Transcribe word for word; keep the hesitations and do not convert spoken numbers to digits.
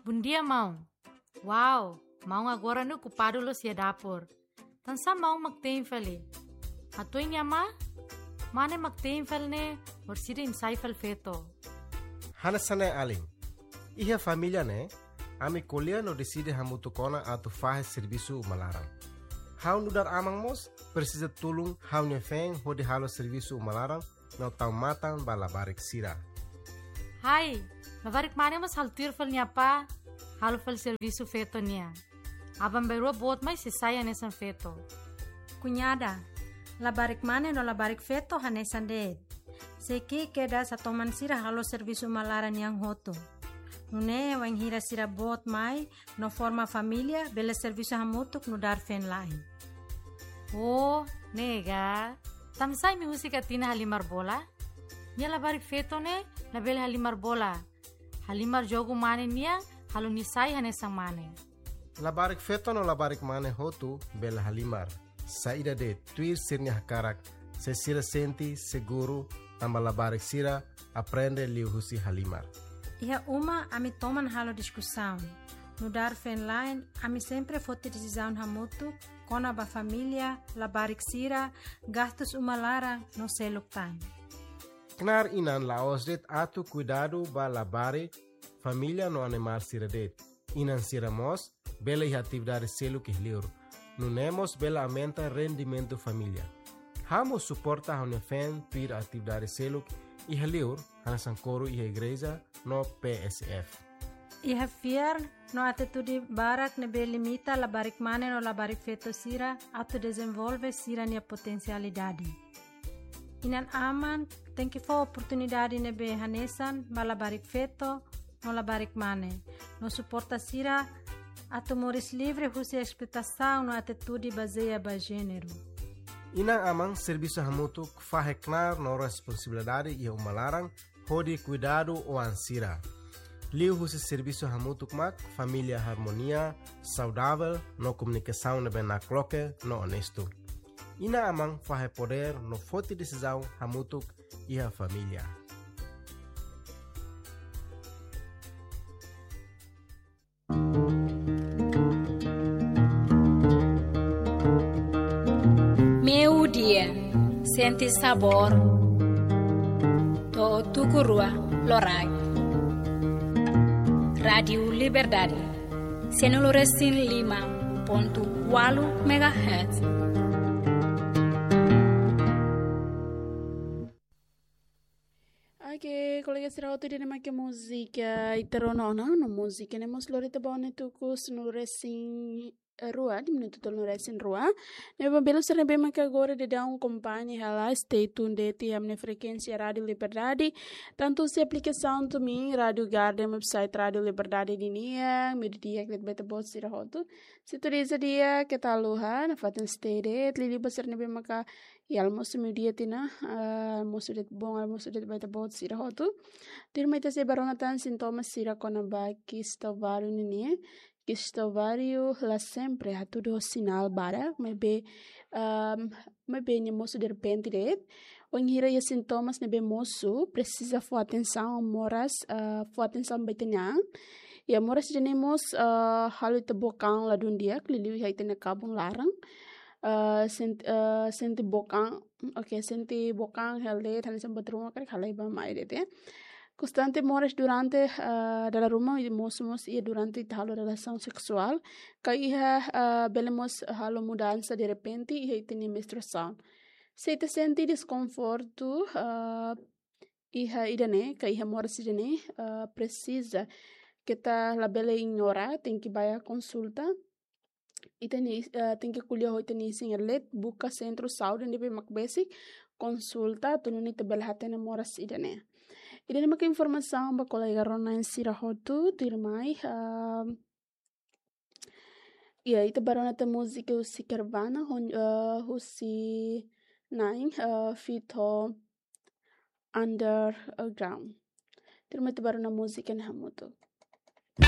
Bondia, maun. Wow, maun agora ne'e okupadu loos iha dapur. Tansá maun mak te'in fali? Hatudu nia ma, mane mak te'in fali ne'e, orsida imi sai fali feto. Hanesan ne'e alin. Iha família ne'e, ami ko'alia no deside hamutuk ona atu fahe servisu uma laran. Ha'u nu'udar aman mós presiza tulun ha'u-nia feen hodi halo servisu uma laran no tau matan ba labarik sira. Hai, labarik mane mós halo tuir fali nia apá, halo fali servisu feto nian. Aban-bainrua boot mai sei sai hanesan feto. Kuñada, labarik mane no labarik feto hanesan de'it. Sei ki'ik kedas hatoman sira halo servisu uma laran nian hotu. Nune'e wainhira sira boot mai no forma família, bele servisu hamutuk nu'udar feen-la'en. Oh, ne'e ka. Tansá imi husik Atina halimar bola? Nia labarik feto ne'e labele halimar bola. Halimar jogu mane nian, halo nia sai hanesan mane. Labarik feto no labarik mane hotu bele halimar. Saida de'it, tuir sira-nia hakarak, se sira sente seguru, tanba labarik sira aprende liuhusi halimar. Iha uma ami toman halo diskusaun. Nu'udar feen-la'en, ami sempre foti desizaun hamutuk kona-ba família, labarik sira, gastus uma laran no seluk tan. Knaar inan la'ós de'it atu kuidadu ba labarik, família no animál sira de'it. Inan sira mós bele iha atividade seluk iha liur. Nune'e mós bele aumenta rendimentu família. Ha'u mós suporta ha'u-nia feen tuir atividade seluk iha liur, hanesan koru iha igreja no P S F. Iha fiar no atitude barak ne'ebé limita labarik mane no labarik feto sira atu dezenvolve sira-nia potensialidade. Inan-aman tenke fó oportunidade ne'ebé hanesan ba labarik feto no labarik mane, no suporta sira atu moris livre husi esploitasaun no atitude bazeia ba jéneru. Inan-aman servisu hamutuk fahe knaar no responsabilidade iha uma laran hodi kuidadu oan sira. Liuhusi servisu hamutuk mak família harmonia, saudavel no komunikasaun ne'ebé nakloke no onestu. Inan-aman fahe podér no foti desizaun hamutuk iha família. Meiudia, sente sabór. To'o tuku rua loraik. Rádiu Liberdade, sanulu-resin-lima pontu ualu megahertz. Oke, kolega sira hotu, ida-ne'e mak múzika ita rona ona, no múzika ne'e mós lori ita ba ona tuku sanulu-resin-rua, di minutu tolunulu-resin-rua. Ne'ebé belun sira ne'ebé maka agora daudaun akompaña hela, stay tuned de'it iha ami-nia frekuénsia Rádiu Liberdade. Tantu husi aplikasaun TuneIn, Rádiu Garden, website Rádiu Liberdade nian, meiudia di'ak ba ita-boot sira hotu. Sintoniza di'ak, keta haluha, nafatin stay de'it, liuliu ba sira ne'ebé maka iha almosu meiudia tiha ona, ah, almosu de'it, bom almosu de'it ba ita-boot sira hotu. Tuirmai ita sei bá rona tan sintomas sira kona-ba kista ováriu nian. Kista ováriu la sempre hatudu ho sinál barak, maibé, ah, maibé nia mosu derrepente de'it. Wainhira iha sintomas ne'ebé mosu, presiza fó atensaun, moras, ah, fó atensaun ba ita-nia an. Iha moras ida-ne'e mós, ah, halo ita book an ladún di'ak, liuliu iha ita-nia kabun laran. Ah, sent-, ah, sente book an, oke, sente book an hela de'it, hanesan buat ruma karik halai ba mai de'it, ya. Konstante moras durante, ah, dala ruma, i mosu mós iha durante ita halo relasaun seksuál. Ka iha, ah, bele mós halo mudansa derrepente iha ita-nia menstruasaun. Se ita sente deskonfortu, ah, iha ida-ne'e, ka iha moras ida-ne'e, ah, presiza, keta labele ignora, tenke bá konsulta. Ita-nia, ah, tenke ko'alia ho ita-nia isin-leten, buka sentru saúde ne'ebé mak besik, konsulta, atu nune'e ita bele hatene moras ida-ne'e. Ida-ne'e mak informasaun ba kolega rona-na'in sira hotu, tuirmai, ah, iha, ita bá rona tan múzika husi Carvana, hon-, ah, husi na'in, ah, feat Underground. Tuirmai ita bá rona múzika ne'e hamutuk.